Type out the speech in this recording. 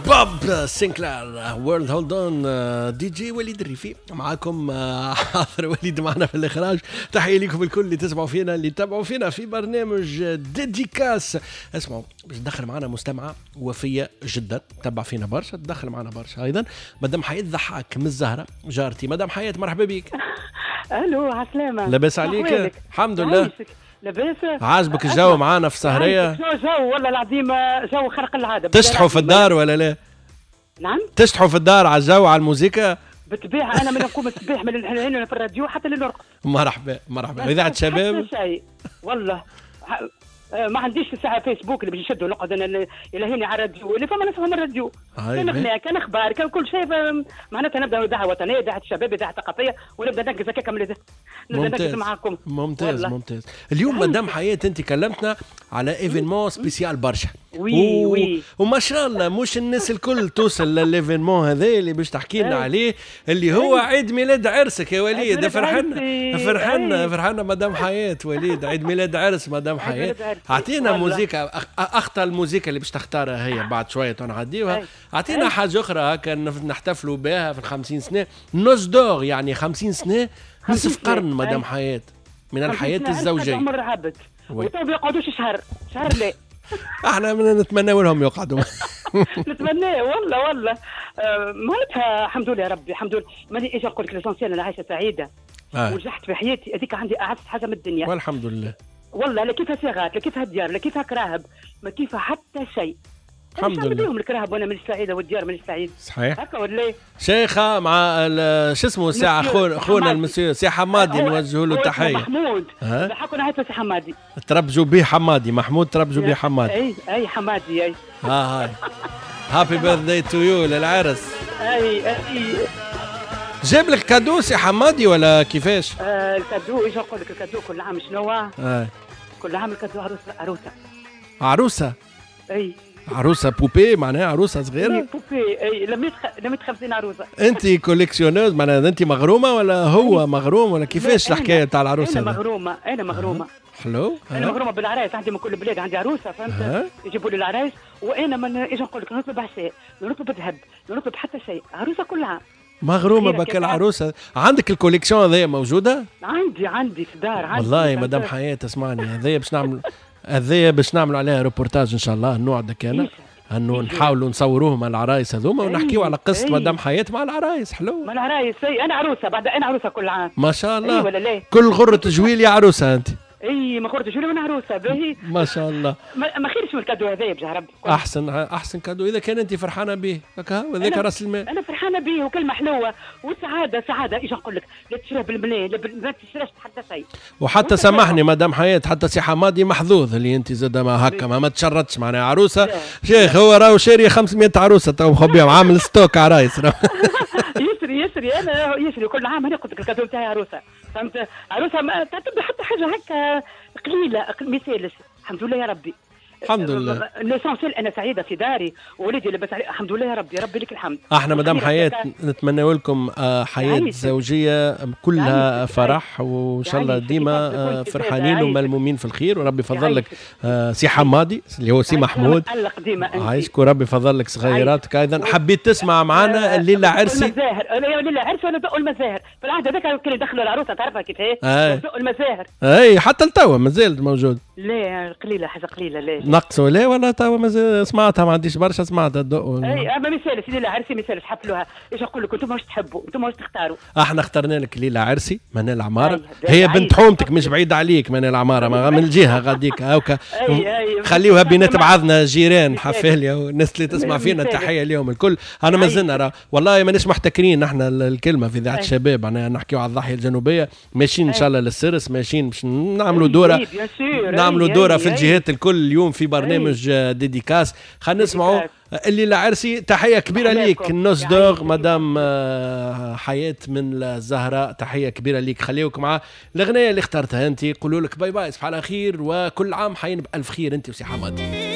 بوب سينكلار World Hold On. DJ وليد الريفي معاكم، حاضر وليد معنا في الاخراج. تحية لكم الكل اللي تسمعوا فينا، اللي تتابعوا فينا في برنامج dédicace. اسمعوا، باش تدخل معنا مستمعه وفيه جدا، تبع فينا برشا، تدخل معنا برشا ايضا، مدام حياة ضحاك من الزهره، جارتي. مدام حياة مرحبا بك. الو، عسلامة. لاباس عليك؟ الحمد لله. لاباس. عاجبك الجو معانا في السهريه؟ شنو جو، والله العظيم جو خرق العاده. تشطحوا في الدار ولا لا؟ نعم، تشطحوا في الدار على الجو، على الموسيقى؟ بالطبيعه، انا من نقوم الصباح من الحين في الراديو حتى لنرقد. مرحبا مرحبا، اذاعة شباب. والله ما عنديش ساعة فيسبوك اللي باش نشدوا، نقعد انا الهيني على الراديو اللي فما نفهم الراديو، كان اغنية كان اخبار كان كل شيء، معناتها نبدا اذاعة وطنيه، اذاعة شباب، اذاعة ثقافيه، ونبدا نركز هكاك، نبدا نركز معاكم. ممتاز والله. ممتاز. اليوم مدام حياة انت كلمتنا على événement spécial برشا. oui oui. وما شاء الله مش الناس الكل توصل لل événement هذا اللي باش تحكي لنا عليه، اللي هو عيد ميلاد عرسك يا وليد. فرحنا فرحنا فرحنا مدام حياة. وليد، عيد ميلاد عرس مدام حياة، اعطينا موزيكا، اخطى الموزيكا اللي باش تختارها هي بعد شوية نعديوها، اعطينا حاجة اخرى هكا نحتفلوا بها في ال50 سنه، noces d'or، يعني 50 سنه، نصف قرن مدام حياة من الحياة الزوجيه. عمر عبد وتو بيقعدوش شهر شهر لا. احنا نتمنى لهم يقعدوا. نتمنى والله والله. معناتها الحمد لله يا ربي، الحمد لله. ماني ايش نقول لك، l'essentiel انا عايشه سعيدة ونجحت في حياتي، هذيك عندي اعز حاجة من الدنيا. والحمد لله. والله لا كيفها صيغات، لا كيفها ديار، لا كيفها كراهب، ما كيفها حتى شيء. الحمد لله. بيهم الكراهب وانا مانيش سعيده، والديار مانيش سعيد. صحيح. هكا ولا؟ شيخه مع شو اسمه ساعة خونا المسيو سي حمادي، نوجه له تحية. محمود حكوا نعيط سي حمادي. تربجوا به حمادي، محمود تربجوا به حمادي. اي اي حمادي اي. ها هاي happy birthday to you للعرس. اي اي. جاب لك cadeau سي حمادي ولا كيفاش؟ ال cadeau، ايش نقول لك، ال cadeau كل عام شنو؟ كل عام ال cadeau عروسه. عروسه. عروسه؟ اي. عروسه poupée، معناها عروسه صغيرة؟ poupée اي، لميت 50 عروسه. انت collectionneuse، معناها انت مغرومه ولا هو مغروم ولا كيفاش الحكاية تاع العروسة؟ انا مغرومه، انا مغرومه. حلو. انا مغرومه بالعرايس، عندي من كل بلاد عندي عروسه، فهمت؟ يجيبوا لي العرايس، وانا من ايش نقول لك، نطلب عشاء، نطلب ذهب، نطلب حتى شيء، عروسه كل عام. مغرومه بك العروسة. عندك ال collection هذيا موجودة؟ عندي في الدار عندي. والله مدام حياة اسمعني، هذيا باش نعمل، هذايا باش نعملوا عليها روبورتاج ان شاء الله، نوعدك انا انه نحاولوا نصوروه مع العرايس هذوما ونحكيو على قصة مدام حياة مع العرايس. حلو. مع العرايس، اي انا عروسه بعد، انا عروسه كل عام. ما شاء الله. ولا لا؟ كل غره جويل عروسه انت. اي ما غره جويل وانا عروسه. باهي. ما شاء الله. ما خيرش من ال cadeau هذايا بجاه ربي. احسن احسن cadeau اذا كان انت فرحانة به هكا، وهذاك راس المال. انا فرحانة به وكلمه حلوة وسعادة سعاده، ايش نقول لك، لا تشريها بالملايين، لا ما تشريش حتى شيء. وحتى سامحني مدام حياة، حتى سي حمادي محظوظ اللي انت زاد ما هكا ما تشرطش، معناها عروسه شيخ هو راهو شاري 500 عروسه تو مخبيهم، عامل stock عرايس. يشري يشري، انا يشري كل عام. انا قلت لك ال cadeau نتاعي عروسه، فهمت؟ عروسه ما تعتبر حتى حاجة هكا قليله، ما يسالش. الحمد لله يا ربي. الحمد لله. l'essentiel انا سعيدة في داري ووليدي لاباس عليه، الحمد لله يا ربي، ربي لك الحمد. احنا مدام حياة نتمنى لكم حياة زوجيه كلها فرح، وان شاء الله ديما فرحانين وملمومين في الخير، وربي يفضل لك سي حمادي اللي هو سي محمود. عايشك، وربي يفضل لك صغيراتك ايضا. حبيت تسمع معنا الليلة عرسي؟ المزاهر، الليلة عرسي ولا دقوا المزاهر في العهد هذاك كانوا يدخلوا العروسة، تعرفها كيف هي؟ دقوا المزاهر. اي حتى لتوا مازال موجود. لا قليله، حاجة قليله. لا نقصوا لا ولا توا مازال سمعتها، ما عنديش برشا سمعتها الدق. اي اما ما يسالش ليلة عرسي، ما يسالش حفلوها. ايش نقول لك، انتم واش تحبوا، انتم واش تختاروا. احنا اخترنا لك ليلة عرسي منال عمارة، هي بنت حومتك مش بعيدة عليك منال عمارة، من الجهة غاديك هاكا. خليوها بينات بعضنا جيران حفاليا والناس اللي تسمع فينا تحية ليهم الكل. انا مازلنا والله ماناش محتكرين احنا الكلمة في اذاعة الشباب، انا نحكيو على الضاحية الجنوبية، ماشيين ان شاء الله للسرس، ماشيين باش نعملوا دوره، نعملوا دوره في الجهات الكل اليوم في برنامج dédicace. خلينا نسمعوا الليلة عرسي. تحية كبيرة ليك noces d'or مدام حياة من الزهراء، تحية كبيرة ليك. خليوك مع الأغنية اللي اخترتها أنت. قولوا لك bye bye، صباح على خير، وكل عام حين بألف خير أنت وسي حمادي.